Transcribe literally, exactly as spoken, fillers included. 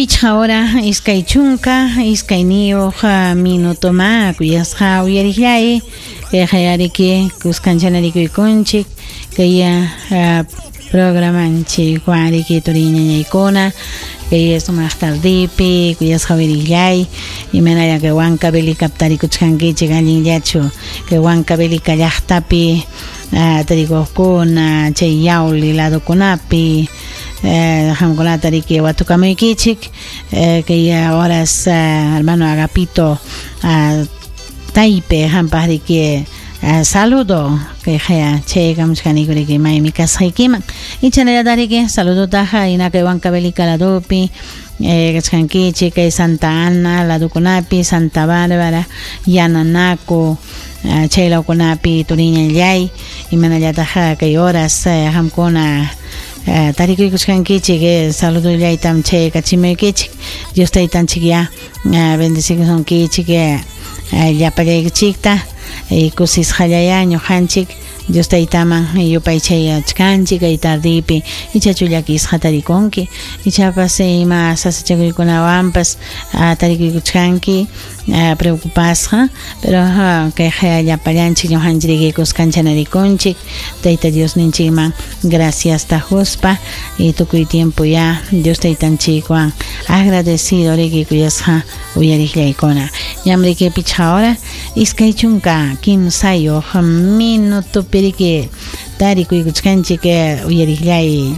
Pichqa hora iskay chunka iskayniyuq minutoma kuyasqa uyariqllay kayqa riki kuskanchalarikuykunchik kay programanchik riki turiñañaykuna kay sumaq tardipi kuyasqa uyariqllay imanalla kay Huancavelica tarikuchkankichik allinllachu kay Huancavelica llaqtapi tarikuqkuna chay Yauli ladokunapi qamkunata riki watukamuykichik kay horas hermano Agapito Taipe qampaq riki saludo kay qaya chaykamuchkaniku riki maymi kasqaykiman ichanallataq riki saludotaqa hina kay Huancavelica ladopi kachkankichik kay Santa Ana ladokunapi Santa Bárbara Yananaco chay lawkunapi turiñallay imanallataq kay horas qamkuna tarikuykuchkankichik saludollaytam chaykachimuykichik Dios taytanchik ya bendecikusunkichik llapallaykichikta kusisqallaya ñuqanchik Dios taytaman yupaychayachkanchik kay tardipi ichachu llakisqa tarikunki ichapas ima sasachakuykunawanpas tarikuykuchkanki preocupasqa pero kay llapallanchik ñuqanchik riki kuskanchanarikunchik Tayta Diosninchikman gracias tajuspa y tukuy tiempo ya Dios taytanchikwan agradecido riki kuyasqa uyariqllaykuna ñam riki pichqa hora iskay chunka kimsayuq minutopi riki tarikuykuchkanchik uyariqllay.